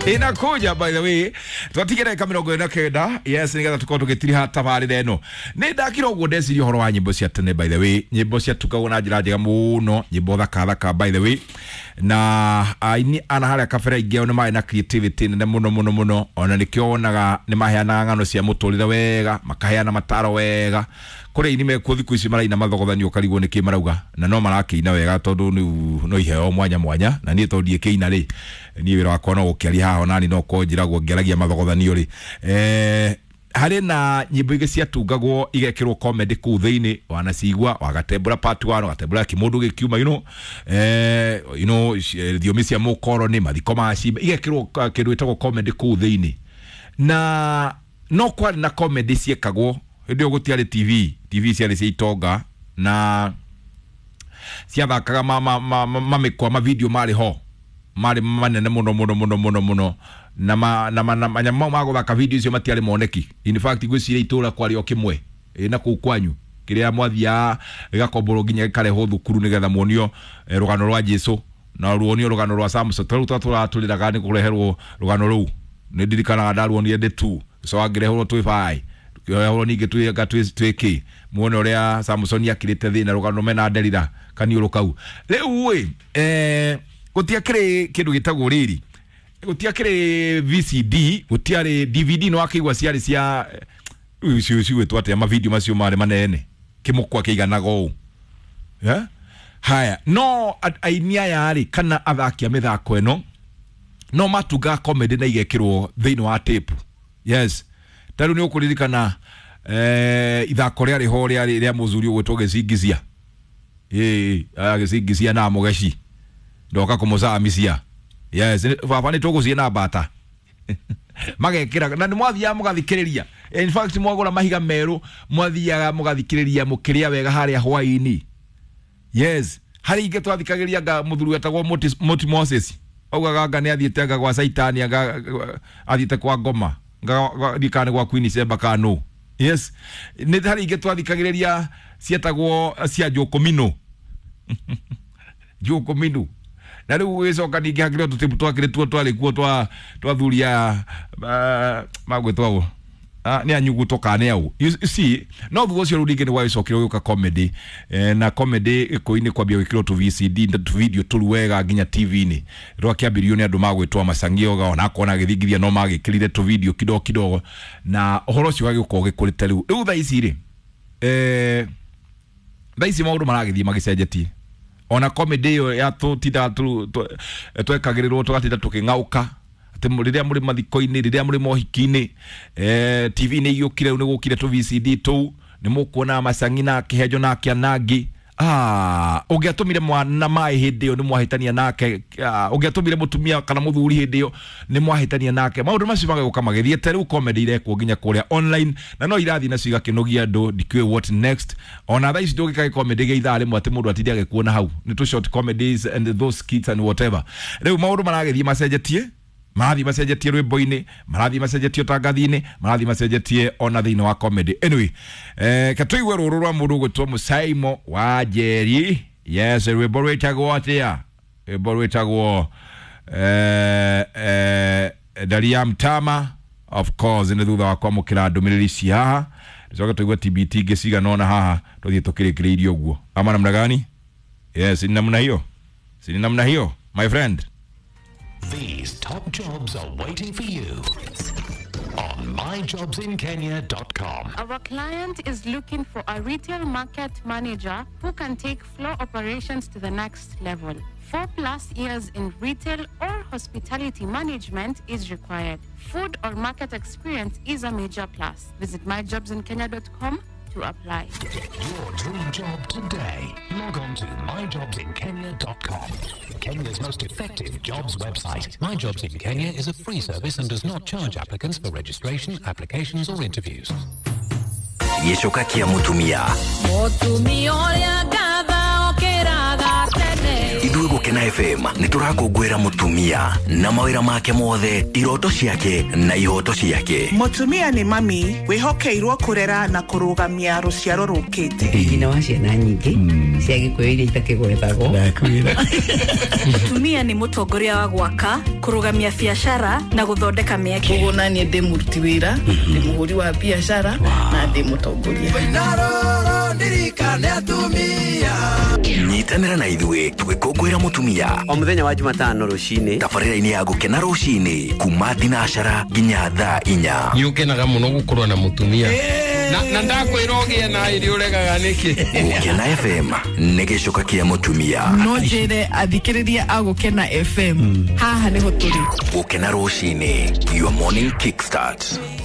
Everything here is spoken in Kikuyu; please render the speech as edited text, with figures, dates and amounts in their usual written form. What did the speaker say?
Inakuja by the way. Twatigera ka 49. Yes, nigetha tukorwo tugitiriha tabarĩra ĩno. Nĩ ndakira ũguo ndeciria ũhoro wa nyĩmbo cia tene by the way. Nyĩmbo ciatungagwo na njĩra njega mũno, nyĩmbo thaka thaka by the way. Na aini ana harĩa kabere aingĩ ao nĩ marĩ na creativity nene mũno mũno mũno. Ona nĩkĩo wonaga nĩ maheanaga ng'ano cia mũtũrĩre wega, makaheana mataro wega. Kũrĩ aini mekuo thikũ ici maraina mathogothanio ũkarigwo nĩkĩ marauga, na no marakĩina wega tondũ rĩu no iheo mwanya mwanya. Na niĩ tondũ ndiĩkĩina rĩ, niĩ wĩra wakwa no gũkĩaria haha, onani no korwo njĩragwo ngĩaragia mathogothanio rĩ. Harĩ na nyĩmbo ingĩ ciatungagwo igekĩrwo comedy kũu thĩinĩ, wanacigua wagatembũra part 1, wagatembũra kĩmũndũ gĩkiuma, thiomi cia mũkoroni, mathiko ma cimba, igekĩrwo kĩndũ gĩtagwo comedy kũu thĩinĩ. Na no kwarĩ na comedy ciekagwo hĩndĩ ĩyo gũtiarĩ TV, TV ciarĩ cia itonga na ciathakaga mamĩkwa ma video marĩ ho marĩ manene mũno mũno mũno mũno mũno, na manyamũ mau ma gũthaka video icio matiarĩ moneki. In fact ngwĩciria itũra kwarĩ o kĩmwe na kũu kwanyu kĩrĩa mwathiaga gĩgakomborwo nginya gĩkarehwo thukuru nĩgetha muonio rũgano rwa Jesu na ruonio rũgano rwa Samson. Tarĩu tũratũrĩraga nĩ kũreherwo rũgano rũu, nĩ ndirikanaga ndaruonire ndĩ tu so angĩreherwo twĩ bai kĩoyahũrwo ningĩ twĩka twĩkĩ muone ũrĩa Samson akĩrĩte thĩna rũgano mena Delila kaniũrũ kau. Rĩu ĩ gũtiakĩrĩ kĩndũ gĩtagwo rĩrĩ, gũtiakĩrĩ VCD, gũtiarĩ DVD, no akĩigua ciarĩ cia icio cigwĩtwo atĩa mavideo macio marĩ manene kĩmũkwa kĩiganaga ũũ. Yeah? Haya, no aini aya rĩ kana athaki a mĩthako ĩno no matungaga comedy na igekĩrwo thĩinĩ wa tape. Yes, ta rĩu nĩ ũkũririkana ithako rĩarĩ ho rĩarĩ rĩa mũthuri ũgwĩtwo Gĩcingisia. Ĩĩ, Gĩcingisia na Mũgeci ndoka kũmũcamisia. Yes, baba nĩ tũgũciĩ na mbata magekĩra na nĩ mwathiaga mũgathikĩrĩria. In fact mwagũra mahiga merũ mwathiaga mũgathikĩrĩria mũkĩrĩa wega harĩa hwaĩ-inĩ. Yes, harĩ ingĩ twathikagĩrĩria nga mũthuri wetagwo Moti Moses augaga anga nĩ athiĩte anga gwa Saitani, anga athiĩte kwa ngoma ndikane gwa Queen Sheba kano. Yes, nĩ harĩ ingĩ twathikagĩrĩria cietagwo cia Njũkũminũ. Njũkũminũ. Na rĩu gũgĩcoka ningĩ hakĩrĩ o tũtibu twakĩrĩ tuo twarĩ kuo twa thuri a magwĩtwo nĩ anyuguto kana nĩ au. You see, no thutha ũcio rĩu ningĩ nĩ gwagĩcokire gũgĩũka comedy, na comedy gĩkũyũ-inĩ kwambia gwĩkĩrwo tũ VCD na tũ video tũru wega nginya TV-inĩ. Rwakĩambĩrĩirio nĩ andũ magwĩtwo Macangio ona akorwo agĩthingithia no magĩkĩrire tũ video kidogo kidogo, na ũhoro ũcio ũgagĩũka ũgĩkũrĩte rĩu. Rĩu thaa ici rĩ, thaa ici maũndũ maragĩthiĩ magĩcenjetie. Ona comedy ĩyo ya tũtindaga twekagĩrĩrwo tũgatinda tũkĩng'aũka atĩ rĩrĩa mũrĩ mathiko-inĩ, rĩrĩa mũrĩ mohiki-inĩ, TV nĩ igĩũkire rĩu nĩ gũkire tũ VCD tũu, nĩ mũkuona Macangi na Kĩhenjo na Kĩanangi. Ũngĩatũmire mwana maĩ hĩndĩ ĩyo nĩ mwahĩtania nake, ũngĩatũmire mũtumia kana mũthuri hĩndĩ ĩyo nĩ mwahĩtania nake. Maũndũ macio magagũka magĩthiĩte. Rĩu comedy irekwo nginya kũrĩa online na no irathiĩ nacio igakĩnogia andũ, ndikĩũĩ what next. Ona thaa ici ndũngĩka comedy gĩa ithaa rĩmwe atĩ mũndũ atinde agĩkuona hau, nĩ tũ short comedies and those skits and whatever. Rĩu maũndũ maragĩthiĩ macenjetie, marathiĩ macenjetie rwĩmbo-inĩ, marathiĩ macenjetie ũtangathi-inĩ, marathiĩ macenjetie ona thĩinĩ wa comedy. Anyway, ke tũigue rũrũ rwa mũndũ ũgwĩtwo Mũcaimo wa Njeri. Yes, rwĩmbo rwĩtagwo atĩa? Rwĩmbo rwĩtagwo Daria Mtama. Of course nĩ thutha wa kwamũkĩra ndũmĩrĩri ici haha, tũcoke tũigue TBT ingĩ cigana ũna haha, tũthiĩ tũkĩrĩkĩrĩirie ũguo. Ama namna gani? Yes, ni namna hiyo, si ni namna hiyo my friend. These top jobs are waiting for you on myjobsinkenya.com. Our client is looking for a retail market manager who can take floor operations to the next level. 4+ years in retail or hospitality management is required. Food or market experience is a major plus. Visit myjobsinkenya.com to apply. Get your dream job today. Log on to myjobsinkenya.com. Kenya's most effective jobs website. My Jobs in Kenya is a free service and does not charge applicants for registration, applications or interviews. Gĩcoka kĩa mũtumia. Mũtumia ũrĩa ngatha okĩraga tene. Ithuĩ. Gũkena FM nĩ tũrakũngũĩra mũtumia na mawĩra make mothe, iroto ciake na ihoto ciake. Mũtumia nĩ mami wĩhokeirwo kũrera na kũrũgamia rũciaro rũkĩte. Nyina wa ciana nyingĩ cia Gĩkũyũ iria itakĩgwetagwo. Mũtumia nĩ mũtongoria wa gwaka, kũrũgamia biacara na gũthondeka mĩeke. Koguo naniĩ ndĩ mũruti wĩra, ndĩ mũhũri wa biacara na ndĩ mũtongoria. Nyitanĩra na ithuĩ tũgĩkũngũĩra mũtumia O mũthenya wa Jumatano rũcinĩ tabarĩra-inĩ ya Gũkena rũcinĩ kuma thinacara nginya thaa 4. Nĩ ũkenaga mũno gũkorwo na mũtumia na ndakwĩra ũgĩe na ĩrĩ ũregaga nĩkĩ. Gũkena FM nĩ gĩcoka kĩa mũtumia. No njĩre athikĩrĩria a Gũkena FM haha nĩho tũrĩ. Gũkena rũcinĩ, your morning kickstart.